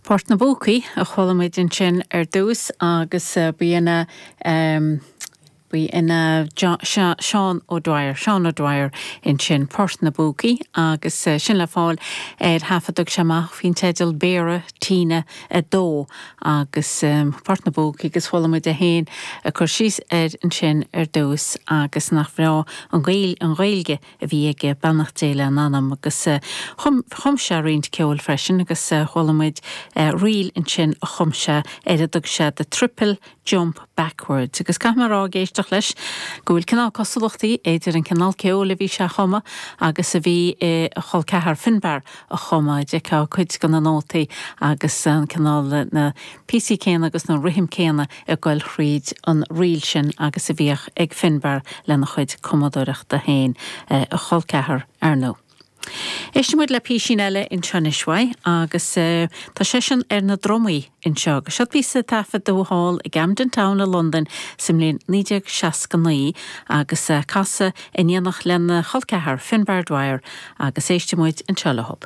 Port na bPúcaí a chuala muid ansin ar dtús agus b'in é b'in é Seán O'Dwyer, Seán O'Dwyer ansin, Port na bPúcaí agus sin le fáil ar thaifead a thug sé amach faoin teideal Béara Tine 2 agus Port na bPúcaí agus chuala muid é féin ag cur síos air ansin ar dtús agus nach bhreá an Ghaeilge a bhí aige, beannacht Dé lena anam, agus chum chum sé roinnt ceoil freisin agus chuala muid ríl ansin a chum sé ar a dtug sé The Triple Jump Backwards agus caithfidh mé a rá ag éisteacht leis go bhfuil cineál cosúlachtaí idir an cineál ceoil a bhí sé a chumadh agus a bhí a chol ceathar Finbarr a chumadh, d'fheicfeá cuid de na nótaí agus an cineál na píosaí céanna agus na rithim céanna ag goil thríd an ríl sin agus a bhíodh ag Finbarr lena chuid cumadóireachta féin, a chol ceathar, ar ndóigh. Éistfidh muid le písín eile anseo anois uaidh agus tá seisean ar na drumaí anseo agus seo píosa a taifeadadh thall i gCamden Town i Londain sa mbliain 1969 agus casadh in éineacht lena chol ceathar, Finbarr Dwyer, agus éistfidh muid anseo leo.